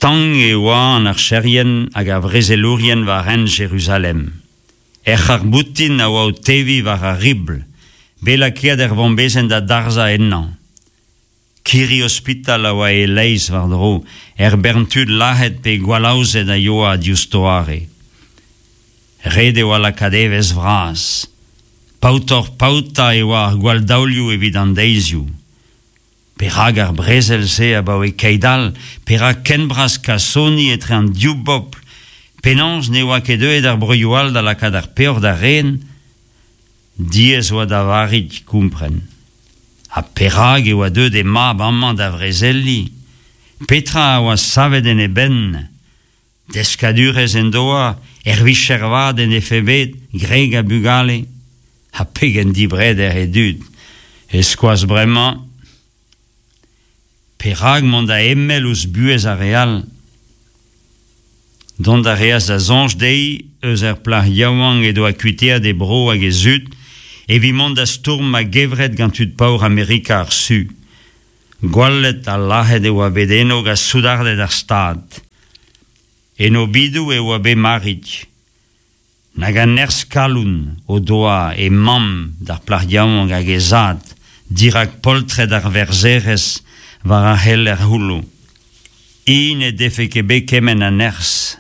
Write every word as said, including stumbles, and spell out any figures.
Stank e oa an archerien hag ar vrezelourien war hent Jeruzalem. Er c'harr-boutin a oa o teviñ war ar ribl, bet lakaet ur vombezenn da darzhañ ennañ. Kirri ospital a oa e-leizh war-dro, ur bern tud lazhet pe gwallaozet a yoa diouzh doare. Ret e oa lakaat evezh vras. Paotoc'h-paotañ e oa ar gwalldaolioù evit an deizioù. Perak ar brezel-se abaoe keit-all? Perak ken bras kasoni etre an div bobl? Penaos ne oa ket deuet ar broioù all da lakaat ar peoc'h da ren? Diaes oa da Varig kompren. Ha perak e oa deuet he mab amañ da vrezeliñ? Petra a oa savet en e benn? Deskadurezh en doa, ur vicher vat en defe bet, gwreg ha bugale. Ha pegen dibreder e dud. E-skoaz bremañ, perak mont da emell ouzh buhez ar re all? Dont a reas da soñj dezhi eus ar plac'h yaouank he doa kuitaet he bro hag he zud evit mont da stourm a-gevret gant tud paour Amerika ar Su. Gwallet ha lazhet e oa bet eno gant soudarded ar Stad. En obidoù e oa bet Marig. Nag a nerzh-kalon o doa he mamm d'ar plac'h yaouank hag he zad dirak poltred ar verzherez war ar c'heler c'houllo. Hi n'he defe ket bet kement a nerzh.